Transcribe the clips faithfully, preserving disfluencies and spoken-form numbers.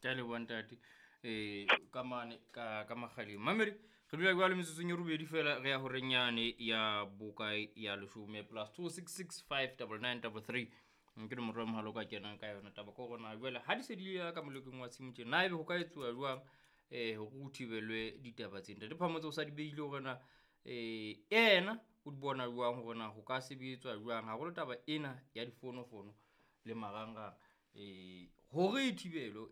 Ke a leboha ntate. Eh ka mane ka ka makgaleng. Mamedi re dula jwale metsotsong e robedi fela re ya horeng yane ya bokae ya leshome plus two six six five double nine double three. Ke nomoro ya mohala o ka kenang ka yona. Taba ke hore na jwale ha di se di le ka molekong wa tshimo tjena, na ebe ho ka etsuwa jwang eh hore ho thibelwe ditaba tse? Ntate Phamotse o sa di behile hore na eh yena o di bona jwang hore na ho ka sebetswa jwang haholo taba ena ya difonofono le marangrang eh hore e thibelwe.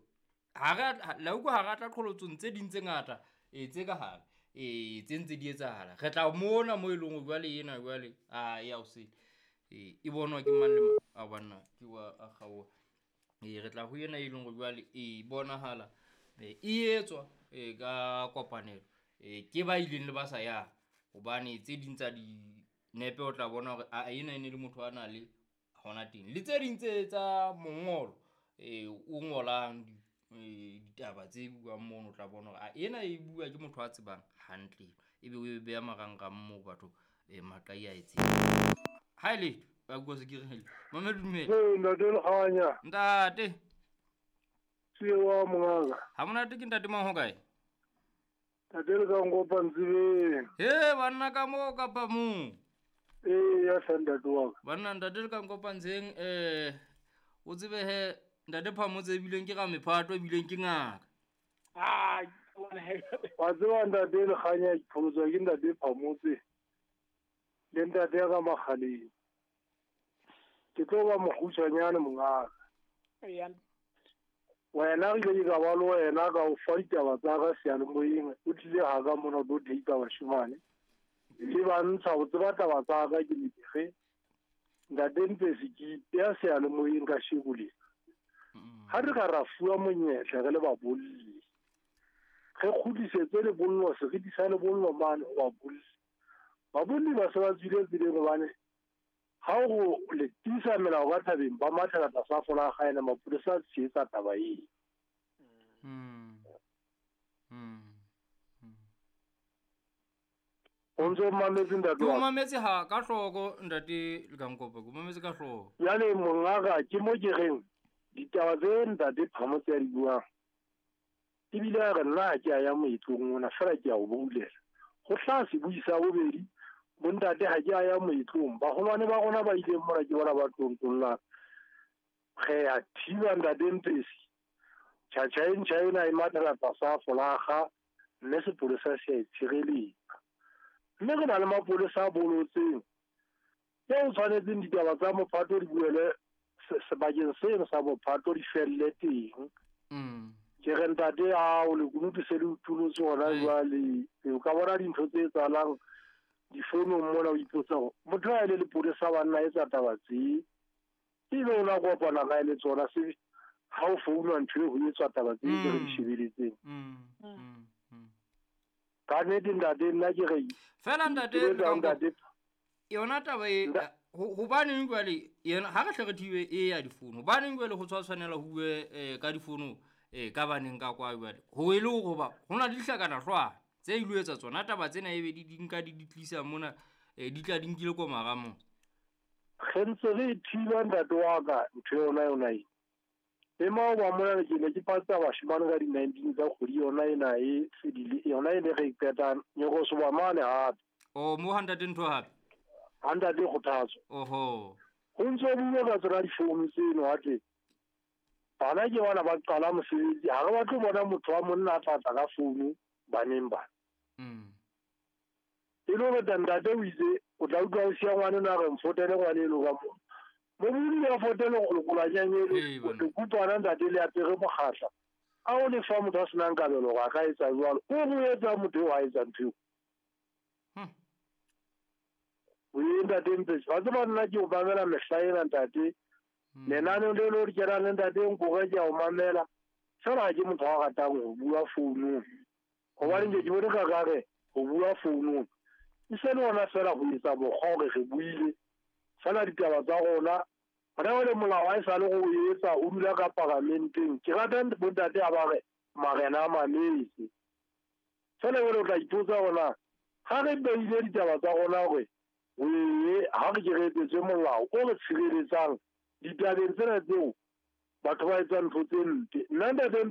Ha re a la utlwa ha re tla qholotsong tse ding tse ngata eh tse ka hare eh tse ntse di etsahala. Re tla mona mo eleng hore jwale ena jwale a ya o sele eh e bonwa ke mang le mang. A banna ke wa a kgaoha. Eh re tla ho ena e leng hore jwale e bonahala e etswa eh ka kopanelo eh ke ba ileng le ba sa yang, hobane tse ding tsa dinepe o tla bona hore a ena e ne le motho a na le hona teng. Le tse ding tse tsa mongolo eh o ngolang ditaba tse buang mono, o tla bona hore a ena e bua ke motho a tsebang hantle, ebe o e beha marangrang moo batho eh maqai a e tseba. Ha e letho ba bua se ke re Mamedi dumela. Ee, ntate Lekganya. Ntate. Tsie wa mongaka. Ha monate ke ntate mang ho kae? Ntate le ka nkopa ntsibeng. He banna ka moo kapa moo? Ee, ya sa ntate wa ka. Banna ntate le ka nkopa ntseng eh o tsebe he ntate Phamotse ebileng ke ra mephato ebileng ke ngaka. Ah, wa tseba ntate Lekganya ke pholotswa ke ntate Phamotse le ntate ya ka Makgaleng. Ke tlo ba mokgutshwanyane mongaka. Eya. Wena re ile ka ba le wena ka o fa ditaba tsa ka seyalemoyeng, o tlile ha ka mona o tlo date bashimane. Ke ba ntsha ho tseba taba tsa ka ke lebege. Ntate Mpesi ke ipeya seyalemoyeng ka sheko lena. Ha re ka ra fuwa monyetla re le babolli, re kgutlisetse lebollo, seriti sa lebollo mane ho babolli. Babolli ba se ba tswile tseleng hobane ha o le tiisa melao ka thabeng ba mathela tlasa folaga ena mapolesa a tshehetsa taba eo. Mm. Mm. Mm. O ntso o mametse ntate Ke wa o ka? mametse ha ka hloko ntate Lekankopa, ke o mametse ka hloko. Jwale mongaka ke mo ke reng ditaba tse ntate Phamotse a di buang ebile a re nna ha ke a ya moetlong ona fela ke a o boulela. Ho hlaha sebui sa bobedi, bontate ha ke a ya moetlong, baholwane ba rona ba ileng mona ke bona ba tlontollang. Re a thiba ntate Mpesi, tjhatjha e ntjha ena e mathela tlasa folaga mme sepolesa se a e tshireletsa. Mme re na le mapolesa a bolotseng eo tshwanetseng ditaba tsa mophato di buele sebakeng seno sa mophato di felle teng. Mm. Ke re ntate ao lekunutu se le utulotse hona jwale, o ka bona dintho tse etsahalang difounong mona o ipotsa hore motho ha e le lepolesa banna etsa taba tse, ebe o na kopana kae le tsona se ha o founwa ntho e ho etswa taba tse tse re di shebeletseng. Mm. Mm. Mm. Ka nnete ntate nna ke re Fela ntate ke etsa ntate yona taba e hobaneng jwale yena ha re hle re thibe e ya difounu, hobaneng jwale ho tshwa tshwanela ho bue eh, ka difounu eh, ka baneng ka kwa jwale ho e le hore hoba ho na le dihlakana hlwana tse ilo etsa tsona taba tsena ebe di di nka di di tlisa mona eh, di tla di nkile ko maramong. Re ntse re thiba ntate wa ka ntho yona yona e. E maoba mona ke ne ke patsa bashimane ka di-nineteen tsa kgwedi yona ena e fedile, yona e ne re e qetang nyokosoba mane hape. Oh, mo ha ntate ntho hape? Ha ntate Kgothatso. Oho. Ho ntso bua ka tsona difounu tseno hatle. Bana ke bana ba qala mosebetsi, ha re batle ho bona motho wa monna a tla tla ka founu baneng bana. Mm. E le hore ntate o itse o tla utlwa o siya ngwaneno a re mfotele ngwaneno ka moo. Mo a fotele lekolwanyang Ee, ele, bana. lekutwana ntate le apere mokgahla. A o lefa motho a senang kabelo hore a ka etsa jwalo. O re o etsa motho eo a etsa ntho eo. Hmm. O ye ntate Mpesi, wa tseba nna ke o mamela mehla ena ntate. Hmm. Lenaneo le le kenang le ntate Nkore ke a o mamela. Fela ha ke motho a ratang ho bua founung. Hobane nke ke bone ka kare ho bua founung. E se le hona fela ho etsa mokgwa hore re buile. Fela ditaba tsa rona, hona jwale molao ha e sale go o etsa o dula ka paramenteng. Ke rata bontate ha ba re marena a mametse. Fela jwale o tla ipotsa hore na ha re beile ditaba tsa rona hore oe ha re ke re etsetswe molao o re tshireletsang ditabeng tsena tseo batho ba etsang ntho tse mpe. Nna ntate Mpe